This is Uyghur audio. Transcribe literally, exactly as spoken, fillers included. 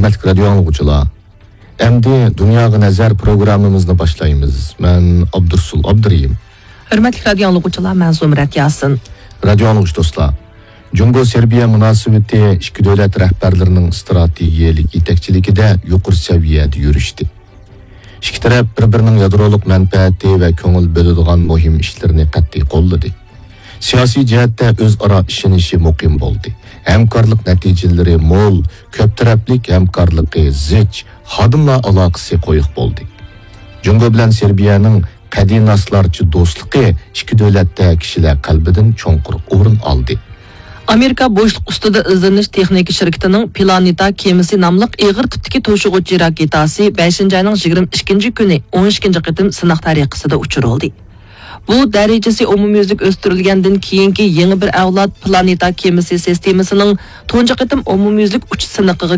ھۆرمەتلىك رادىيو ئاڭلىغۇچىلار، ئەمدى دۇنياغا نەزەر پروگراممىمىزنى باشلايمىز. مەن ئابدۇرسۇل ئابدۇرېھىم. ھۆرمەتلىك رادىيو ئاڭلىغۇچىلار، مەن زۇمرەت ياسىن. رادىيو ئاڭلىغۇچى دوستلار، جۇڭگو سېربىيە مۇناسىۋىتى ئىككى دۆلەت رەھبەرلىرىنىڭ ئىستراتېگىيەلىك يېتەكچىلىكىدە يۇقىرى سەۋىيەدە يۈرۈشتى. ئىككى تەرەپ بىر-بىرىنىڭ يادرولۇق مەنپەئەتى ۋە كۆڭۈل بۆلىدىغان مۇھىم ئىشلىرىنى قەتئىي قوللىدى. سىياسىي جەھەتتە ئۆزئارا ئىشىنىشى مۇقىم بولدى. ھەمكارلىق نەتىجىلىرى مول، كۆپ تەرەپلىك ھەمكارلىقى زىچ، خادىملار ئالاقىسى قويۇق بولدى. جۇڭگو بىلەن سېربىيەنىڭ قەدىناسلارچە دوستلۇقى ئىككى دۆلەتتە كىشىلەر قەلبىدىن چوڭقۇر ئورۇن ئالدى. ئامېرىكا بوشلۇق ئۈستىدە ئىزدىنىش تېخنىكا شىركىتىنىڭ پلانېتا كېمىسى ناملىق ئېغىر تىپتىكى توشۇغۇچى راكېتاسى بەشىنچى ئاينىڭ يىگىرمە ئىككىنچى كۈنى ئون ئىككىنچى قېتىم سىناق تەرىقىسىدە ئۇچۇرۇلدى. بۇ دەرىجىسى ئومۇميۈزلۈك ئۆستۈرۈلگەندىن كېيىنكى يېڭى بىر ئەۋلاد پلانېتا كېمىسى سىستېمىسىنىڭ تۇنجى قېتىم ئومۇميۈزلۈك ئۇچۇش سىنىقىغا